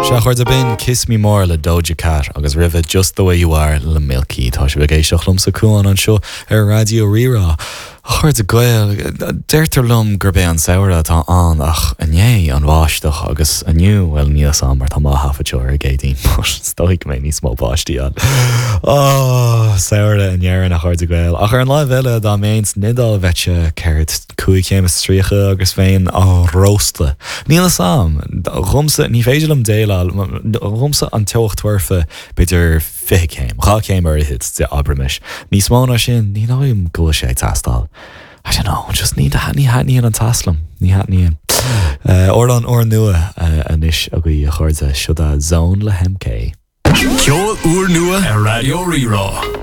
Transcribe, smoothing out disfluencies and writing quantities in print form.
Sea, a chairde, b'in Kiss Me More le Doja Cat agus roimhe Just The Way You Are le Milky. Tá sibh ag éisteacht liomsa Cuán anseo ar Raidió Rí-Rá. A chairde Gael, deirtear liom gurb é an samhradh atá ann ach inné an bháisteach agus inniu, bhuel níl 'fhios a'm mar tá mé á thaifead seo ar an gCéadaoin but is dóigh go mbeidh níos mó báistí ann. Oh, samhradh in Éirinn a chairde Gael. Ach ar an láimh eile dá mbeinn san Iodáil bheadh sé céard, 35 agus bheinn á róstadh. Níl 'fhios a'm. Dhomsa, ní féidir liom déileáil, dhomsa an teocht foirfe b'fhéidir 20 céim, 2 chéim ar fhichead de, abraimis. Níos mó ná sin, ní dóigh liom go bhfuil sé ag teastáil. I don't know, just ní, ní thaitníonn an teas liom. Ní thaitníonn. Amhrán úrnua anois agaibh a chairde, seo é Zone le MK. Ceol úrnua ar Raidió Rí-Rá.